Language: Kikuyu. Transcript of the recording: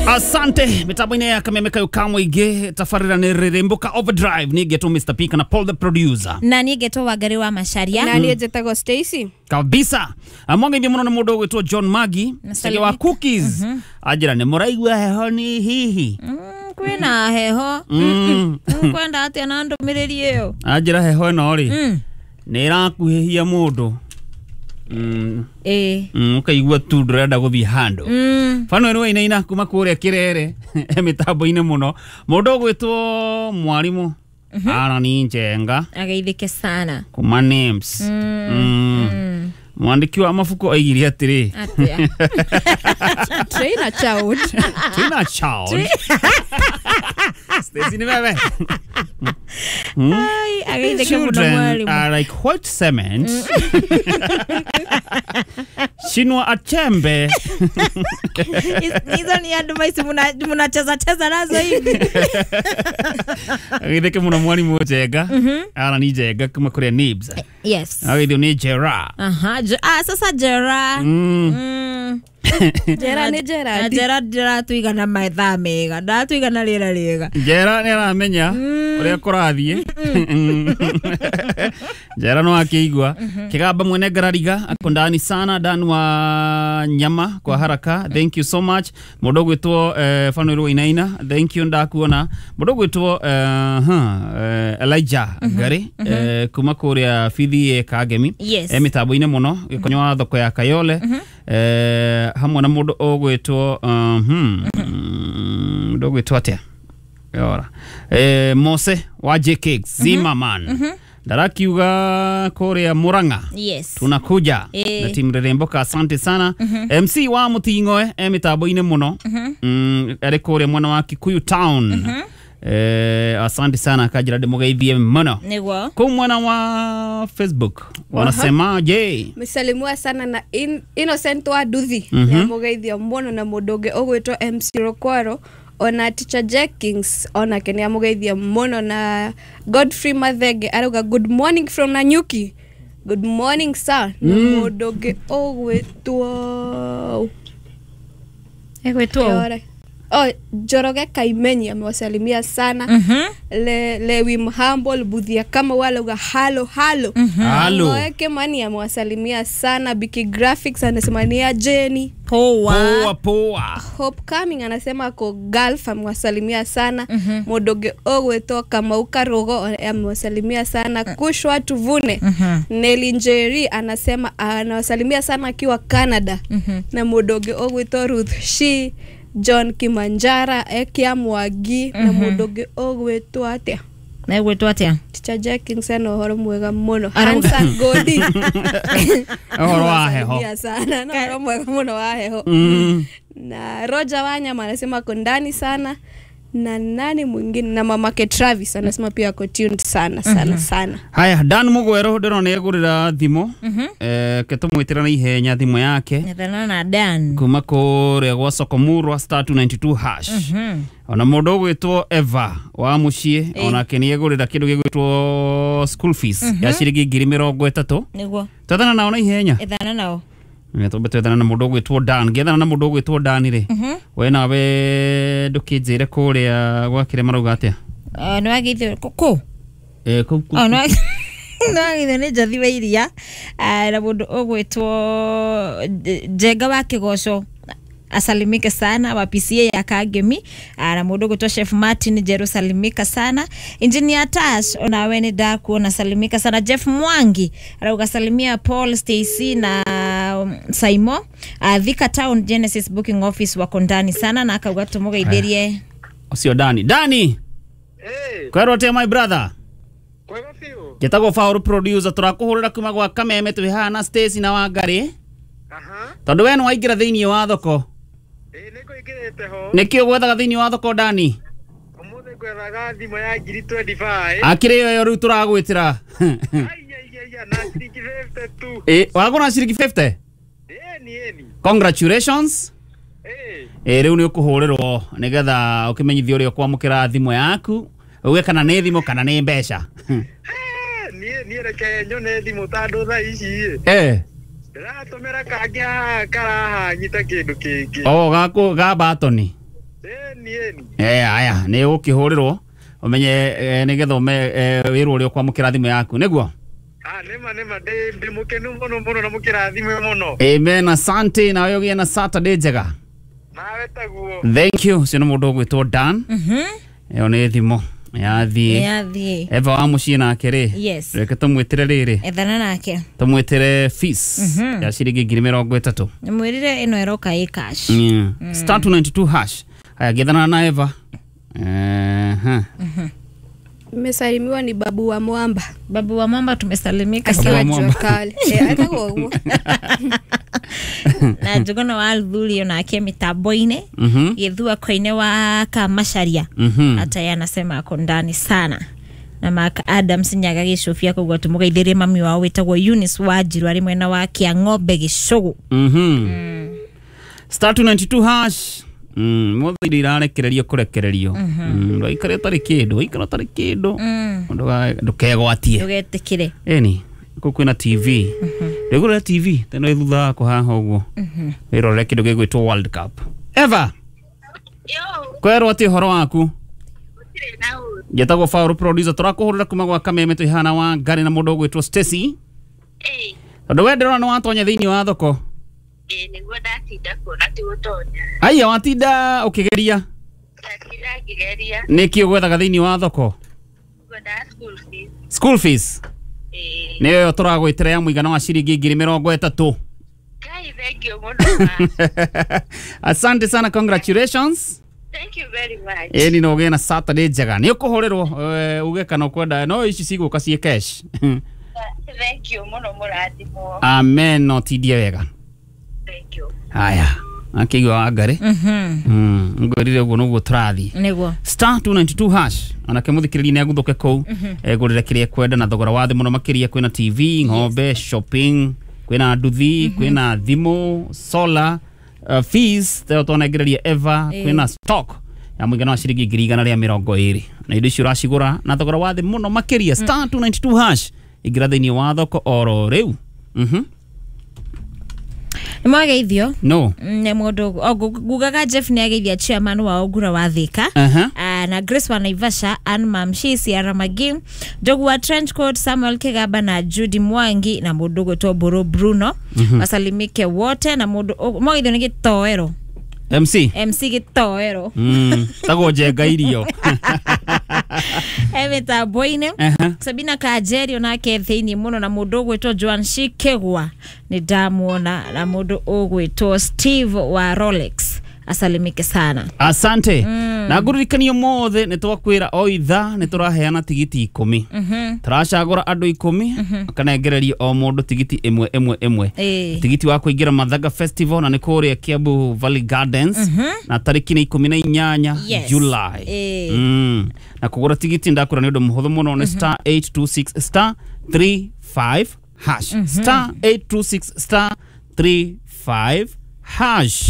Asante mitambo-inĩ ya Kameme kayo ka mũingĩ tabarĩra nĩ Rĩrĩmbũka Overdrive niĩ ngetwo Mr P kana Paul the producer na niĩ ngetwo Wangari wa Macharia na niĩ njĩtagwo Stacy kabisa. Mwangeithie mũno nĩ mũndũ ũgwĩtwo John Magi cege wa cookies anjĩra nĩ mũraigua heho ni hihi kwĩna heho kwenda atĩa na ndũmĩrĩri ĩyo anjĩra heho ĩno rĩ nĩ ĩrakuhĩhia mũndũ ũkaigua tu ndũrenda gũthiĩ handũ. Bano ĩno wainaina kuma kũrĩa Kĩrere mĩtambo-inĩ mũno mũndũ ũgwĩtwo mwarimũ Aaron Njenga ageithĩke sana kuma names. Mwandĩki wa mabuku oigire atĩrĩ atĩa train a child train a child Stacy ni wewe. Ai ageithĩke mũno Children mwalimu are like white cement. Chinua Achebe. Hizo ni advice mnacheza cheza nazo hivi. Ageithĩke mũno mwalimu Njenga. Aaron Njenga kuma kũrĩa Nibs. Yes. Ageithio nĩ Jera. Aha, sasa Jera. Jera nĩ Gerard. Jera ndĩratũigana mathaa mega ndatũigana rĩera rĩega. Jera nĩ aramenya ũrĩa kũrathiĩ. Jera no akĩigua Kĩgamba mwene ngarariga ako ndani sana Dan wa nyama kwa haraka thank you so much. Mũndũ ũgwĩtwo Fanuel Wainaina thank you ndakuona. Mũndũ ũgwĩtwo Elijah Ngari kuma kũrĩa Bithi Kangemi Yes. mĩtambo-inĩ mũno gĩkonyo wa thoko ya Kayole hamwe na mũndũ ũgwĩtwo mũndũ ũgwĩtwo atĩa Yora. Mose wa JK Zimmerman ndarakiuga kũrĩa Murang'a. Yes. Tunakuja na timu Rĩrĩmbũka asante sana. MC wa Mũting'oe mĩtambo-inĩ mũno arĩ kũrĩa mwena wa Kikuyu town. Asante sana kanjĩra ndĩmũgeithie mũno. Nĩguo. Kũu mwena wa Facebook wanasemaje? Msalimiwa sana na Innocent wa Duthi nĩamũgeithia mũno na mũndũ ũngĩ ũgwĩtwo MC Rokwaro ona Teacher Jenkins onake nĩamũgeithia mũno na Godfrey Mathenge arauga good morning from Nanyuki. Good morning sir. Na mũndũ ũngĩ ũgwĩtwo Egwĩtwo Oh, Njoroge Kaimenyi amewasalimia sana. Lewi Mhambo Buthia kama wale uga halo halo. Halo. Moeke Mani amewasalimia sana. Biki Graphics anasema ni ya Jenny. Poa. Poa poa. Hope Coming anasema ako Gulf amewasalimia sana. Modoge Ogweto Kamauka Rogo amewasalimia sana. Kushwa Tuvune Nelly Njeri anasema anawasalimia sana akiwa Canada. Na Modoge Ogweto Ruth Shi John Kimanjara Ekia Mwagi na mũndũ ũgwĩtwo atĩa Na egwĩtwo atĩa Teacher Jenkins ena ũhoro mwega mũno. Hansa Godi ũhoro wa heho sana na ũhoro mwega mũno wa heho. Na Roger Wanyama anasema ako ndani sana na nani mwingine na mamake Travis anasema pia ako tuned sana sana sana. Haya Dan Mugwero ndĩrona nĩegũrĩra thimũ ke tũmwĩtĩra na ihenya thimũ yake Nethana na Dan kuma kũrĩa gwa Sokomurwa star 292 hash. Ona mũndũ ũgwĩtwo Eva wa mũciĩ onake nĩegũrĩra kĩndũ gĩgwĩtwo school fees ya ciringi 30,000. Nĩguo. Twethana nao na ihenya Ethana nao twambe twethana na mũndũ ũgwĩtwo Dan ngĩethana na mũndũ ũgwĩtwo Dan rĩ we nawe ndũkĩnjĩre kũrĩa gwakĩre marauga atĩa nĩ wageithio kũ kũu nĩ wageithio nĩ Njothi wa Iria na mũndũ ũgwĩtwo Njenga wa Kĩgoco asalimike sana wa PCA ya Kangemi na mũndũ ũgwĩtwo Chef Martin Jeru salimika sana. Engineer Tash onawe nĩ ndakuona salimika sana. Jeff Mwangi arauga salimia Paul Stacy na Saimo Thika Town Genesis Booking Office wako ndani sana na akauga tũmũgeithĩrie ũcio Dani. Dani kwerwo atĩa my brother? Kwega biũ. Njĩtagwo Paul producer tũrakũhũrĩra kuma gwa Kameme twĩ haha na Stacy na Wangari tondũ we nĩwaingĩra thĩinĩ wa thoko. Nĩngũingĩrĩte ho. Nĩkĩ ũgwethaga thĩinĩ wa thoko Dani? Ũmũthĩ ngwethaga thimũ ya 20,000. Akĩrĩ ĩyo rĩu tũragwĩtĩra. Aiya na ciringi 50 tu. Wagũra ciringi 50? Ĩni. Congratulations. Rĩu nĩ ũkũhũrĩrwo nĩgetha ũkĩmenyithio ũrĩa ũkwamũkĩra thimũ yaku uge kana nĩ thimũ kana nĩ mbeca. Niĩ reke nyone thimũ tondũ thaa ici ndĩratũmĩra kangĩ haha karahanyita kĩndũ kĩngĩ. Oh, gako ga batoni. Ĩni ĩni. Aya nĩ ũkĩhũrĩrwo ũmenye nĩgetha wĩrwo ũrĩa ũkwamũkĩra thimũ yaku nĩguo. Ah, nĩma nĩma ndĩ mũkenu mũno mũno na mũkĩra thimũ mũno. Amen, asante, nawe ũgĩe na Saturday njega. Nawe taguo. Thank you. Ũcio nĩ mũndũ ũgwĩtwo Dan. Ĩyo nĩ thimũ yathiĩ. Yathiĩ. Eva wa mũciĩ nake rĩ, Yes. reke tũmwĩtĩre rĩrĩ, Ethana nake. tũmwĩtĩre fees ya ciringi 30,000. Mwĩrire ĩno ĩroka ĩ cash. Star 292 hash. Haya, gethana na Eva. Nimesalimiwa ni babu wa Mwamba. Babu wa Mwamba tumesalimika Babu wa sana. Mwamba. Jua kali. Etagwo ũguo. Na Njuguna wa Althuri onake mitambo-inĩ. Gĩthua koine wa Kamacharia. Hata yeye anasema ako ndani sana. Na Mark Adams Nyaga gĩcũbia koguo tũmũgeithĩrie mami wao wĩtagwo Eunice Wanjiru arĩ mwena wa Kĩang'ombe Gĩcũgũ. Star 292 hash. Mothe indo irarekererio kũrekererio. Ndũgaikare ũtarĩ kĩndũ, waikara ũtarĩ kĩndũ. Ndũkegwatie. Ndũgetĩkĩre. Ĩni, kũu kwĩna TV. Ndĩgũrĩra TV, teno ĩ thutha wakwa haha ũguo. Wĩrorere kĩndũ gĩgwĩtwo World Cup. Eva, kwerwo atĩ ũhoro waku? Njetagwo Paul producer, tũrakũhũrĩra kuma gwa Kameme twĩ haha na Wangari na mũndũ ũgwĩtwo Stacy. Tondũ we ndĩrona nĩ watonya thĩinĩ wa thoko. Nĩguo ndatinda kuona ti gũtonya. Aya, watinda ũkĩgeria. Ndatinda ngĩgeria. Nĩkĩ ũgwethaga thĩinĩ wa thoko? Ngwendaga school fees. School fees. Ĩĩ. Nĩyo tũragwĩtĩra ya mũigana wa ciringi 30,000. Ngai thank you mũno ma. Asante sana, congratulations. Thank you very much. Ĩni no ũgĩe na Saturday njega. Nĩ ũkũhũrĩrwo uge kana ũkwenda no ici cigũka ciĩ cash. Thank you mũno mũrathimwo. Amen, no tindie wega. Thank you. Haya, akĩigua Wangari. Ngwĩrire ũguo noguo tũrathiĩ. Nĩguo. Star 292 hash onake mũthikĩrĩria nĩ aguthũke kũu egũrĩre kĩrĩa ekwenda na thogora wa thĩ mũno makĩria. Kwĩna TV, ng'ombe, shopping, kwĩna nduthi, kwĩna thimũ, solar, fees teo twanengereria Eva, kwĩna stock ya mũigana wa ciringi 120,000 na indo icio ũracigũra na thogora wa thĩ mũno makĩria. Star 292 hash, ingĩra thĩinĩ wa thoko oro rĩu. Nĩ mwageithio. No. Nĩ mũndũ ngugaga Jeff nĩ ageithia chairman wa Ongura wa Thika. Na Grace wa Naivasha, Ann Mamshi, Ciara Magi, Njogu wa Trench Coat, Samuel Kigaba na Judy Mwangi na mũndũ ũgwĩtwo Mbũrũ Bruno. Wasalimike wote na mũndũ mwageithio nĩ Gĩtoero. MC. MC Gĩtoero. Tagwo njenga irio. E mĩtambo-inĩ. Sabina Kanjeri onake thĩinĩ mũno na mũndũ ũgwĩtwo Joan Shikegwa nĩ ndamuona na mũndũ ũgwĩtwo Steve wa Rolex asalimike sana. Asante. Na ngũririkanie mothe nĩ twakwĩra o ithaa nĩ tũraheana tigiti 10. Tũracagũra andũ 10 makanengererio o mũndũ tigiti ĩmwe ĩmwe ĩmwe. Tigiti wa kũingĩra Mathaga Festival na nĩ kũrĩa Kiambu Valley Gardens na tarĩki nĩ 18 Yes. July. Na kũgũra tigiti ndakwĩra nĩ ũndũ mũhũthũ mũno, nĩ star 826 star 35 hash. Star 826 star 35 hash.